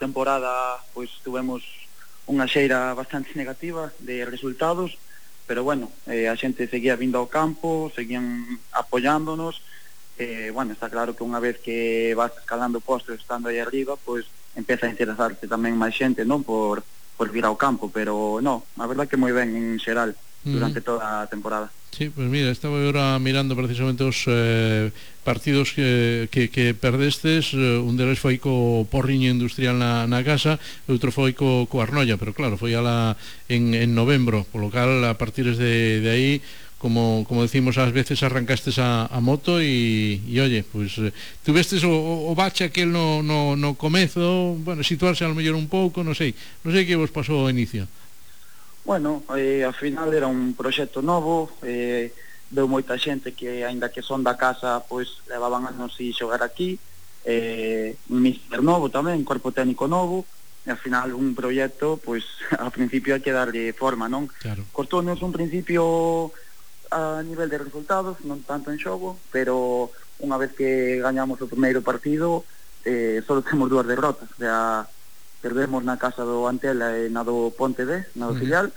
temporada pois tuvemos unha xeira bastante negativa de resultados, pero bueno, a xente seguía vindo ao campo, seguían apoyándonos. Bueno, está claro que unha vez que vas escalando postos estando aí arriba, pois empeza a interesarte tamén máis xente, non, por vir ao campo, pero no, a verdad que moi ben en xeral durante toda a temporada. Sí, pues mira, estaba ahora mirando precisamente os partidos que perdestes. Un deles foi co Porriño Industrial na casa, e outro foi co Arnoia, pero claro, foi en novembro, polo cal a partir de aí, como decimos, ás veces arrancastes a moto e oye, pues tuvestes o bache aquel no comezo, bueno, situarse ao mellor un pouco, non sei que vos pasou ao inicio. Bueno, ao final era un proxecto novo, veu moita xente que, aínda que son da casa, pois levaban anos e xogar aquí, un míster novo tamén, un corpo técnico novo, e ao final un proxecto, pois ao principio hai que darlle forma, non? Claro. Costounos un principio a nivel de resultados, non tanto en xogo, pero unha vez que gañamos o primeiro partido, só temos 2 derrotas, o sea, perdemos na casa do Antela e na do Ponte B, na do filial.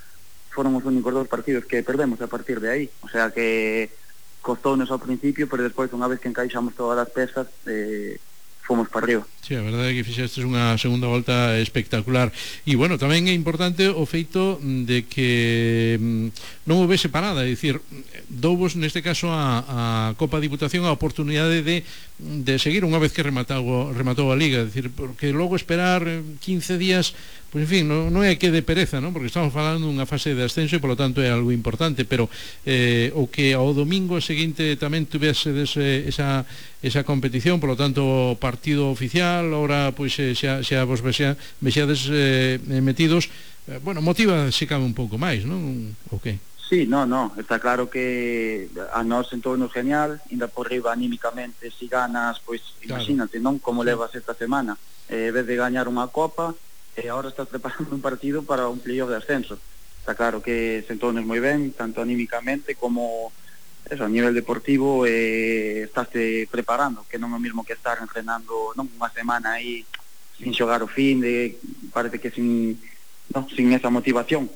Foron os únicos 2 partidos que perdemos a partir de aí, o sea que costounos ao principio, pero despois unha vez que encaixamos todas as pezas, fomos para arriba. Sí, a verdade é que fixestes unha segunda volta espectacular. E bueno, tamén é importante o feito de que non houvese parada, é dicir, douvos neste caso a Copa Diputación a oportunidade de seguir unha vez que rematou a Liga, é dicir, porque logo esperar 15 días, pois en fin, non é que de pereza, non? Porque estamos falando dunha fase de ascenso e polo tanto é algo importante, pero o que ao domingo seguinte tamén tuvesedes esa competición, polo tanto partido oficial, ahora pois xa vos vexades metidos, bueno, motiva se cabe un pouco máis, non? O que? Sí, no, está claro que a nós entornos genial, ainda por riba anímicamente, si ganas, pois imagínate, non? Como levas esta semana, en vez de gañar unha copa, ahora estás preparando un partido para un playoff de ascenso. Está claro que se entornes moi ben, tanto anímicamente como eso, a nivel deportivo, estás preparando, que non é o mismo que estar entrenando non unha semana aí sin xogar o fin de, parece que sin esa motivación,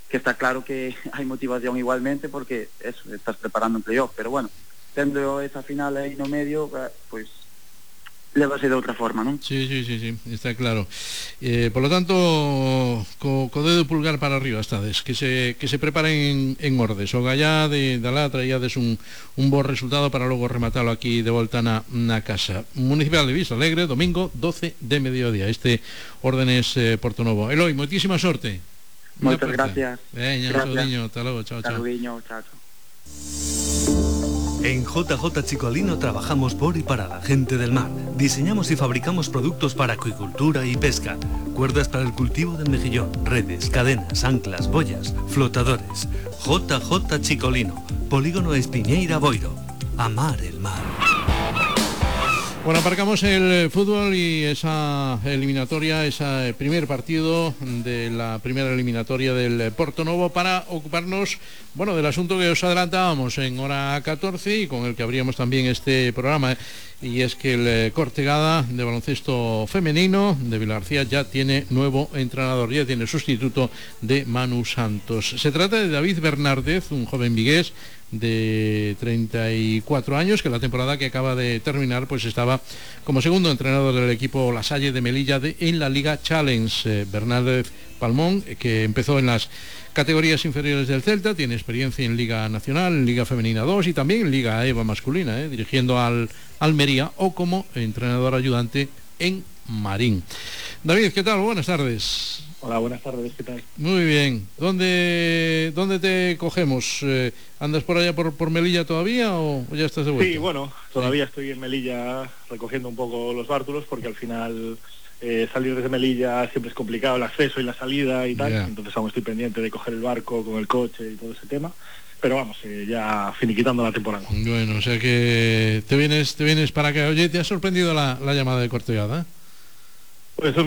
que está claro que hai motivación igualmente porque eso, estás preparando un playoff, pero bueno, tendo esa final aí no medio, pois lévase de outra forma, non? Sí, está claro. Por lo tanto, co dedo pulgar para arriba estades, que se preparen en ordes, o gallá da la traíades un bo resultado para logo rematarlo aquí de volta na casa. Municipal de Vista Alegre, domingo 12 de mediodía, este Órdenes Portonovo. Eloi, moitísima sorte. Moitas gracias. Veña, saúdiño, hasta logo, chao. Saúdiño, chao. En JJ Chicolino trabajamos por y para la gente del mar. Diseñamos y fabricamos productos para acuicultura y pesca. Cuerdas para el cultivo del mejillón, redes, cadenas, anclas, boyas, flotadores. JJ Chicolino, Polígono Espiñeira Boiro. Amar el mar. Bueno, aparcamos el fútbol y esa eliminatoria, ese primer partido de la primera eliminatoria del Portonovo para ocuparnos, bueno, del asunto que os adelantábamos en hora 14 y con el que abríamos también este programa, y es que el Cortegada de baloncesto femenino de Vilagarcía ya tiene nuevo entrenador, ya tiene sustituto de Manu Santos. Se trata de David Bernárdez, un joven vigués de 34 años, que la temporada que acaba de terminar pues estaba como segundo entrenador del equipo La Salle de Melilla en la Liga Challenge. Bernárdez Palmón, que empezó en las categorías inferiores del Celta, tiene experiencia en Liga Nacional, en Liga Femenina 2 y también en Liga EVA masculina, dirigiendo al Almería o como entrenador ayudante en Marín. David, ¿qué tal? Buenas tardes. Hola, buenas tardes, ¿qué tal? Muy bien. ¿Dónde te cogemos? ¿Andas por allá por Melilla todavía o ya estás de vuelta? Sí, bueno, todavía estoy en Melilla recogiendo un poco los bártulos porque al final salir desde Melilla siempre es complicado, el acceso y la salida y tal, entonces aún estoy pendiente de coger el barco con el coche y todo ese tema, pero vamos, ya finiquitando la temporada. Bueno, o sea que te vienes para acá. Oye, ¿te ha sorprendido la llamada de Cortegada? Pues es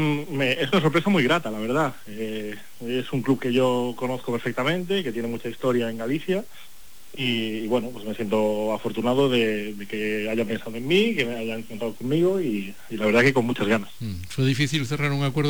una sorpresa muy grata, la verdad. Es un club que yo conozco perfectamente, que tiene mucha historia en Galicia y bueno, pues me siento afortunado de que hayan pensado en mí, que me hayan contado conmigo y la verdad que con muchas ganas. ¿Fue difícil cerrar un acuerdo